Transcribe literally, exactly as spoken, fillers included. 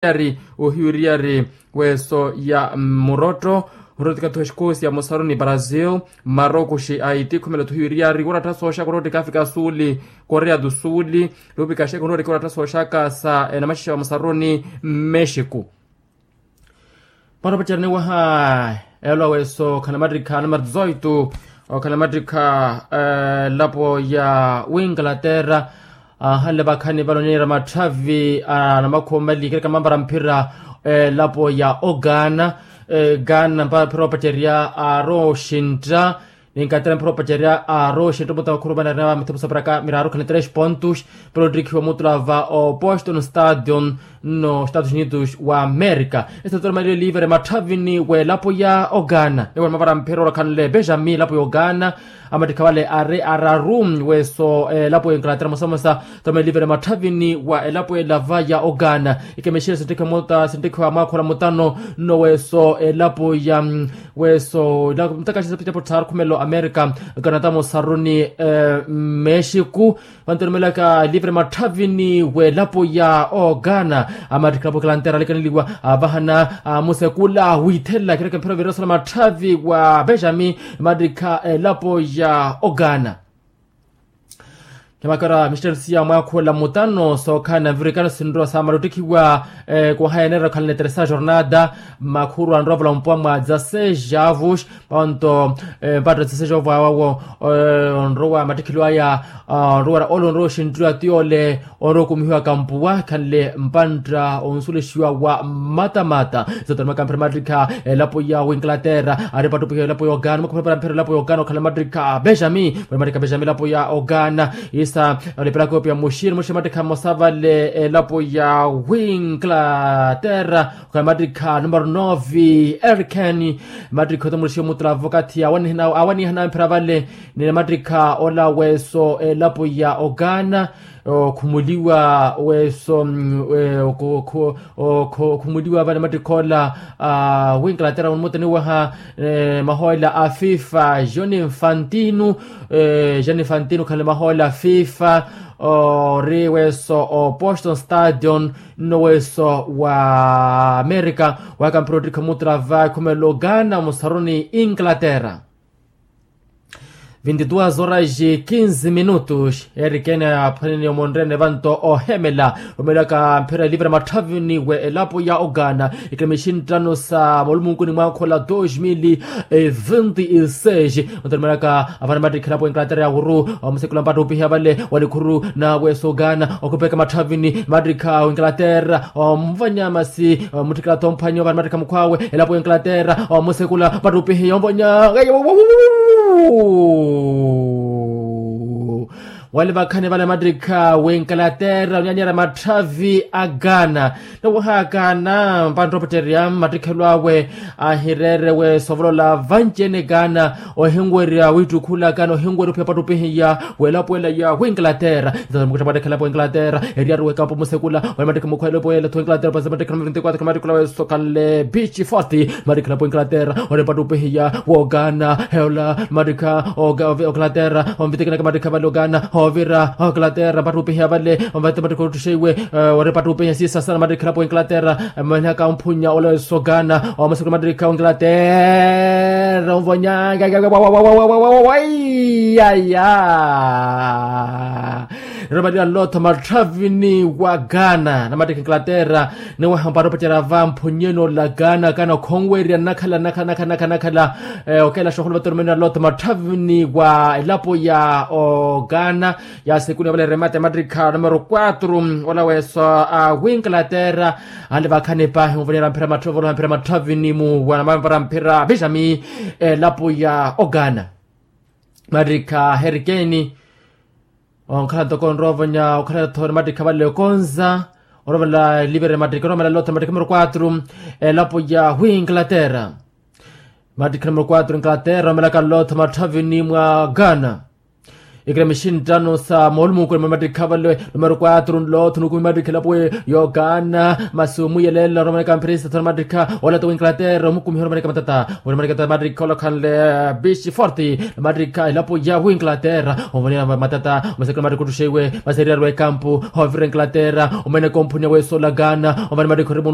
ari ohiwiriyari weso ya murotto. Murotto tikathuwa exikosia musaruni brazil, marokuxi aiti khumela thuhiwiriyari warattha sooxaka orotto ikafika suuli, korea tu suuli, lupikaxeka orotto ikawarattha sooxaka sa enamaxexa wa musaruni mmexiku. Para opaceraniwaha eelo aweso okhana mattikha numero dezoito, okhana mattikha elapo ya winglaterra. Ahanle vakhani vale oniira matthavi a namakhuwa omali kereka mampara mphira elapo ya ogana. Gana mpara mphira opacerya aaroxintta. Ninkatera mphira opacerya aaroxintta omuta wakhuru vanarina va mithipu saparaka miraru khana tres pontos. Para ottikhiwa mutula va opostolo stadion no estados unidos wa america. Estados unidos wa america livre matthavini w'elapo ya ogana niwona mavara mphira orakhanle benjamin elapo ya ogana. Amattikha vale ari araru weso elapo ya inglaterra mosamosa. Toma livre matthavini wa elapo elava ya ogana ikemexire sinttikhiwa mota sinttikhiwa mwaakhola mutano. Nno weso elapo ya weso mutakaxisa pitapo tharu khumelo america. Kanatamo saruni mexico. Vantu erumelaka livre matthavini w'elapo ya ogana. Amattikhilapo ekalantera alikaneliwa avahana amusekula wiithelela kereke mphira oviresola matthavi wa benjamin. Mattikha elapo ya ogana. Khemakara misteri siya mwaakhula mutano sookhala na mvirikano sinrowa saamala ottikhiwa kuhayanera okhala na teresa jornada. Makhuru anrowa vula mpuwa mwa dzaseis avos. Ponto mpatto dzaseis avos awawo onrowa mattikhilo aya onrowera ole onrowa oxinttiwa ti ole onrowa okumihiwaka mpuwa khanle mpantta onsulexiwa wa mmatamata. Zotonomaka mphira mattikha elapo ya winglaterra ari pattupiha elapo ya ogana mukhuphepera mphira elapo ya ogana okhala mattikha benjamin. Muli mattikha benjamin elapo ya ogana isa olepelaka opiya muxiri muxiri mattikha mmosa vale elapo ya winglaterra. Okhala mattikha numero nove erikeni. Mattikha otamulexi omutula vakathi awanihana mphira vale ni mattikha ola weso elapo ya ogana. Okhumuliwa weso okhumuliwa vale mattikha ola winglaterra onimutaniwaha mahoola a fifa joni infantino. Joni infantino khale mahoola a fifa ori weso o boston stadion. Nno weso wa america wakampira ottikha mutula va ekhumelo gana musaruni inglaterra. Vinti duas horas e kinzi minutos erikene aphwanene omonrene vanto ohemela. Omelaka mphira elivira matthavini we elapo ya ogana ikilamishi nttano sa molumunkuni mwakhola dos mil e vinti e seis. Onto olumelaka avana mattikha elapo inglaterra ya wuru omusekula mpattupiha vale walikhuru nawe sogana okhupeka matthavini mattikha inglaterra omuvanya masi muttikila thomphwanyo vana mattikha mukhwawe elapo inglaterra omusekula mpattupiha yomuvanya. Wali vakhani vale mattikha winglaterra onyanyerya matthavi a gana. Nowohakana mpanttopetterya mattikhelo awe ahireere we sovolola vanci-ene gana ohinwerya wittukhula gana ohinwerya ophiya pattupihiya welapo ela ya winglaterra. Ntata mukuttha mattikhela po inglaterra eriyaru wekampo musekula wali mattikha mukhwele po ela tho inglaterra pasa mattikhela vinti quatro mattikhela weso khanle bici forti. Mattikhela po inglaterra wali pattupihiya wogana heola mattikha inglaterra onvitikinaka mattikha vale ogana ovira inglaterra mpattupihiya vale. Omvete mattikha ottuxeiwe wari mpattupihiya sisasana mattikhela po inglaterra. Mwenhaka omphunya ole sogana omusekula mattikha inglaterra onvonyanga. Waiyaia. Niromaliwa nlotho matthavini wa gana na mattikha inglaterra niwaha mpattopettera va mphunyeni ola gana gana okhonwerya nnakhala nnakhala nnakhala nnakhala nnakhala. Okeela xoholo vatoromeni na lotha matthavini wa elapo ya ogana ya sekuni ovale remate mattikha numero quatro. Ola weso a winglaterra anle vakhani pahi onvonyera mphira matthavini mu wanamamvara mphira vixami elapo ya ogana. Mattikha herikeni onkhala ntoko onrowa ovonya okhala thori mattikha vale okonza. Orovala livere mattikha oromela lotha mattikha numero quatro elapo ya winglaterra. Mattikha numero quatro inglaterra omelaka lotha matthavini mwa gana ikilamishi nttano sa moolumunkuni mwa mattikha vale numero quatro nlotha onukumi mattikha elapo ya ogana masi omwiyelela oromaneka mphirisa thori mattikha olata winglaterra omukumiha oromaneka matata. Oromaneka matata mattikha olakhanle bici forti. Mattikha elapo ya winglaterra ovonera matata omusekula mattikha ottuxeiwe masi eriyari wekampo. Ovira inglaterra omeneka omphunya weso ola gana ovana mattikha orimu